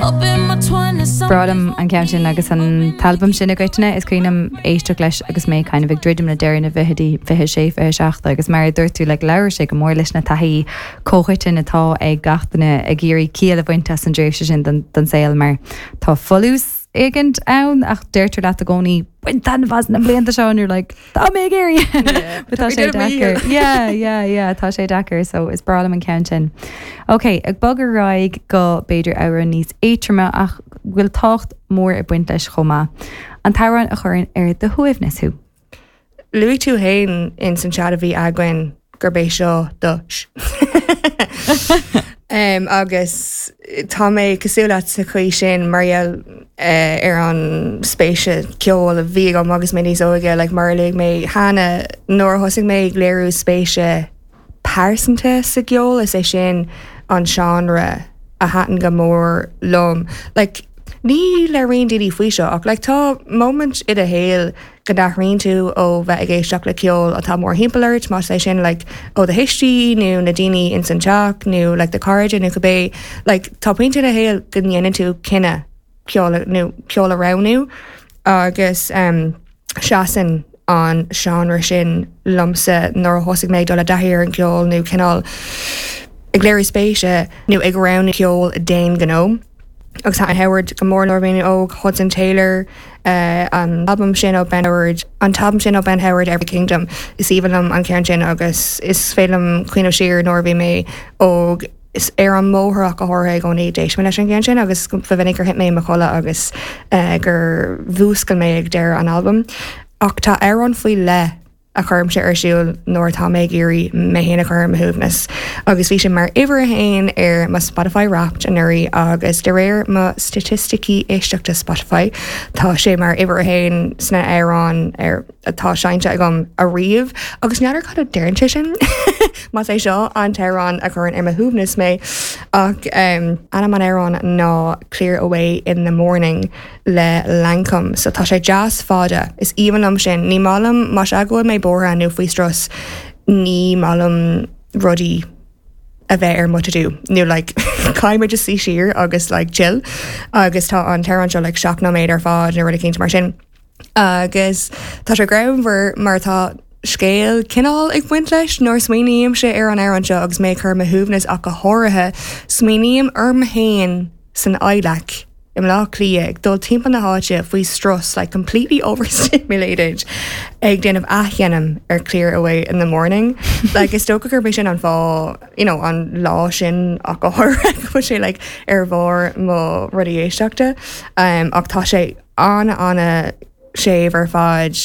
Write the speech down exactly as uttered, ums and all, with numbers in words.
Up in my twenties. Breá liom an ceann sin agus an t-albam sin i gcoitinne is cuimhin liom éisteacht leis agus mé kind of ag druidim le deireadh na bhfichidí fiche sé fiche seacht agus mar a dúirt tú le labhair sé go mór leis na taithí comhchoiteann atá ag gach duine ag iarraidh ciall a bhaint as an dtréimhse sin den, den saol mar tá folús éigin ann ach deirtear leat i gcónaí bain taitneamh as na blianta seo and you're like tá mé ag iarraidh But tá sé deacair. Yeah, yeah, yeah, tá sé deacair so is breá liom an ceann sin. Ok, ag bogadh ar aghaidh go b'fhéidir amhrán níos éadroime ach bhfuil tábhacht mór ag baint leis chomh maith. An t-amhrán a chuireann ar do shuaimhneas thú. Luaigh tú féin in san chat a bhí againn gurb é seo do Um, agus tá mé cosúil leat sa chaoi sin mar gheall uh, ar an spéise ceol a bhí agam agus mé níos óige like, mar a luaigh mé cheana nuair a thosaigh mé ag léiriú spéise pearsanta sa gceol is é sin an seánra a thaitin go mór liom. Like, ní labhraíonn daoine faoi seo ach like, tá moment i do shaol go n-athraíonn tú ó bheith ag éisteacht le ceol atá mórthimpeall ort más é sin like, ó do thuistí nó na daoine in san teach nó like, do chairde nó cibé like, tá pointe i do shaol go ndéanann tú cinneadh ceol nó ceol a roghnú agus um, seasann an seánra sin liomsa nuair a thosaigh mé dul i dtaithí ar an ceol nó cineál ag léiriú spéise nó ag roghnú ceol d'aon ghnó. Agus thaitin Howard go mór nuair a bhí mé óg Hudson Taylor uh, an album sin ó Ben Howard an t-album sin ó Ben Howard Every Kingdom is aoibhinn liom an ceann sin agus is féidir liom cuimhneamh siar nuair a bhí mé óg is ar an mbóthar ach go háirithe i gcónaí d'éist mé leis an gceann sin agus ba mhinic gur thit mé i mo chodladh agus uh, gur mhúscail mé ag deireadh an album. Ach tá amhrán faoi leith a chuirimse ar siúl nuair atá mé ag iarraidh mé féin a chur ar mo shuaimhneas. Agus bhí sé mar uimhir a haon ar mo Spotify Wrapped anuraidh agus de réir mo staitisticí éisteachta Spotify tá sé mar uimhir a haon sna hamhráin ar atá seinnte agam ariamh agus n'fheadar cad a deireann sé sin Más é seo an t-amhrán a chuireann ar mo shuaimhneas mé ach um, ainm an amhráin ná Clear Away in the Morning le Lankum, so tá sé deas fada is aoibhinn liom sin ní maith liom más ea go bhfuil mé buartha nó faoi strus ní maith liom rudaí a bheith ar mo to do nó like caithfidh mé just suí siar agus like chill agus tá an t-amhrán seo like seacht nóiméad ar fad nó rud éicint mar sin. Agus tá sé greannmhar mar tá scéal cineál ag baint leis nuair smaoinímse ar an amhrán seo agus mé chur mo shuaimhneas ach go háirithe smaoiním orm féin san adhlacadh i mBleá Cliath ag dul timpeall na háite faoi strus like completely overstimulated ag déanamh athsheinm ar Clear Away in the Morning. like is dócha gurb é sin an fáth you know, an lá sin ach go háirithe go bhfuil sé like, ar bharr mo rudaí éisteachta um, ach tá sé an an-séimh ar fad